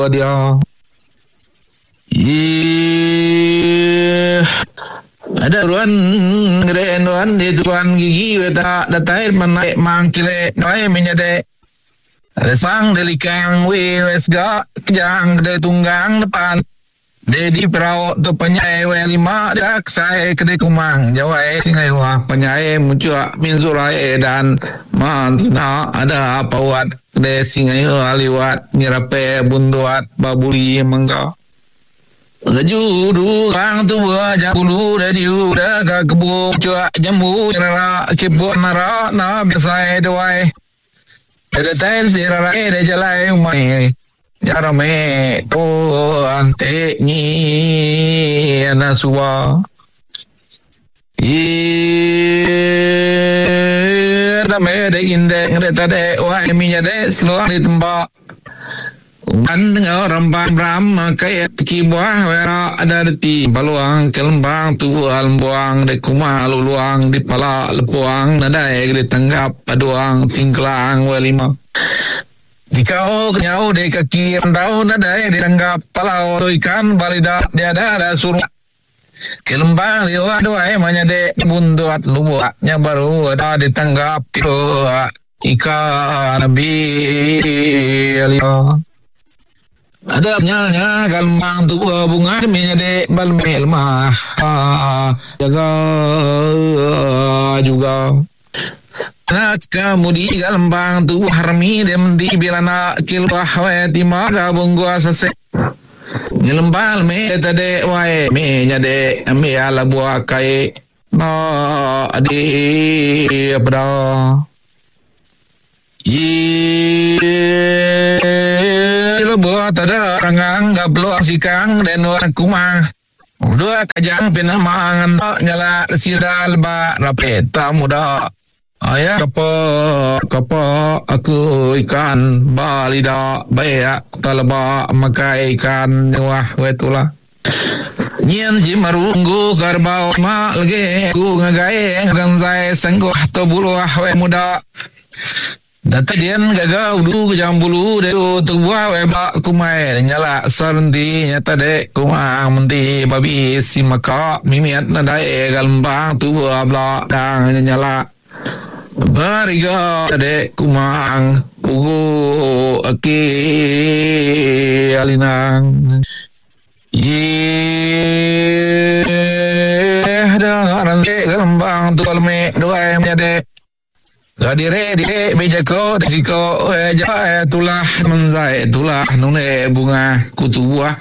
dia. Ih. Ada ruan gede nuan di tuan gigi weta datai menaik mang kile noi menyade. Ada sang delikang we wesga kejang gede tunggang depan. Dedi perau tu penyai we lima dak sai kede kumang jawai singai wah penyai mucuk min surai dan mantina ada pawat kede singai aliwat nyerape bunduat babuli mengka. Laju du kang tu ja bulu da diu da ka kebu cuak jambu nara kiput nara na biasai duai. Ada tain sirarai da jalai umai. Jarame tu ante ni na suwa. Dame de inde ngreta de wai minya de seluang di tempat. Uman dengan rambang ram kaya tiki buah wera ada reti baluang kelembang tua lembuang de kuma luluang di pala lepuang nadai di tanggap paduang tingkelang welima. Dikau kenyau di kaki randau nadai ditanggap palau tu ikan balida dia ada ada suruh. Kelembang liwa duai manyade bunduat luaknya baru ada ditanggap ikan nabi ada nyanya galembang tua bunga menyade balme lemah jaga juga. Nak kemudi galembang tua harmi dem di bila nak kilwah we tima gabung gua sase. Ngelembang me tade wae me nyade me ala buah kai na di apa Ye lebuh tada rangang gablo sikang dan orang kumang. Dua kajang pinamangan tak nyala sira leba rapet tak muda. Ayah kapa kapa aku ikan balida bayak taleba makai ikan nyuah wetula. Nyen jimarunggu karbau ma lege ku ngagai ganzai sangguh to buluah we muda. Data dian gaga udu kejang bulu de tu buah we ba kumai nyala sarndi nyata de kumang menti babi si maka mimiat nadai galembang tu buah bla dang nyala. Bariga de kumang pugu aki alinang. Ye dah ranti galembang tu alme duai menyade. Gadire dire bijako desiko ja tulah menzai tulah nune bunga kutu buah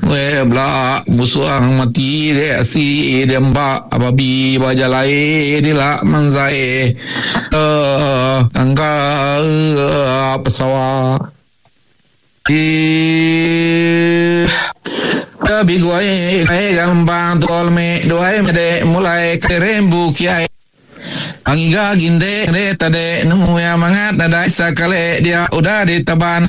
we bla musuang mati de si de mba ababi bajalai dila menzai tangga pesawa di Tabi guai gambang tolme duai mede mulai kerembu kiai Angiga ginde re tade nemu ya mangat nadai sakale dia udah ditaban.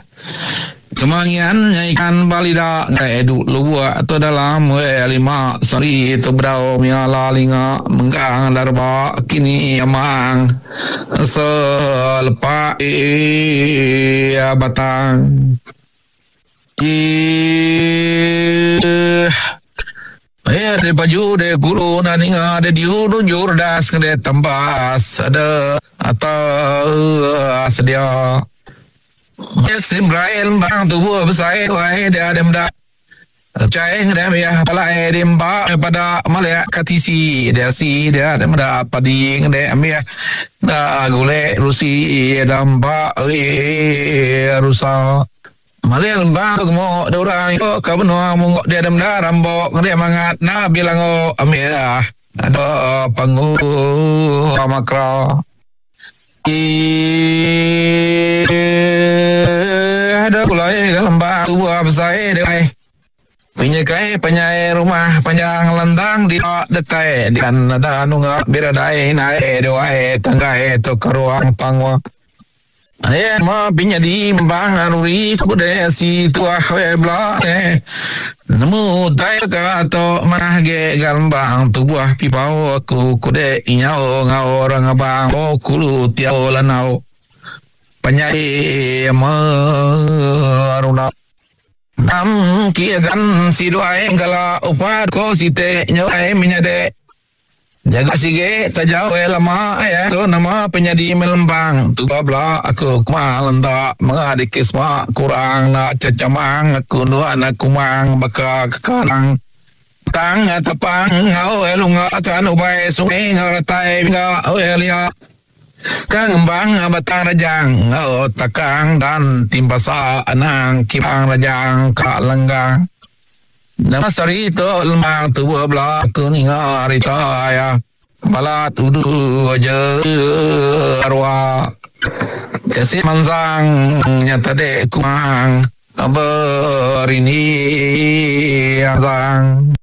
Kemangian ikan balida ngai du luwa atau dalam we lima sari tu brau mia lalinga menggang darba kini amang selepa ia batang. Eh, de baju de guru na ninga de diu du jurdas de tambas ada atau sedia. Ya Simrael bang tubuh besar wai dia ada menda. Cai ngedam ya palai de mba pada malak katisi dia si dia ada menda padi ngedam ya. Da gule rusi da mba rusa. Malil bang tu mo dorang yo ka benua mungok dia ada menda rambok dia mangat na bilang o amia ada pangu amakra. Ada kulai lembang tubuh besar dia. Punya kai penyai rumah panjang lantang di detai dan ada nunga biradai nae doai tangkai to karuang pangwa. Ayah ma pinya di bang aruri kude si tua we bla eh nemu tai ka to manah ge galmbang tubuh pipau aku kude inyao ngao orang abang o kulu tiao lanau penyai ma aruna. Nam ki agan siduai engkala upa ko site nyau menyade. Jaga sige tajau eh lama eh tu nama penyadi melempang tu bla aku kuma lenta menga dikis ma kurang na cecamang aku nuan aku mang baka kekanang tang tepang ngau eh lunga kan ubai sungai ngau ratai ngau eh lia Ka ngembang batang rajang enggau takang dan timpasa anang kibang rajang ka lenggang. Nama sehari tu lembang tubuh bela aku ninga rita iya balat udu aja arwah. Kasih mansang nya tadi kumang berini azang.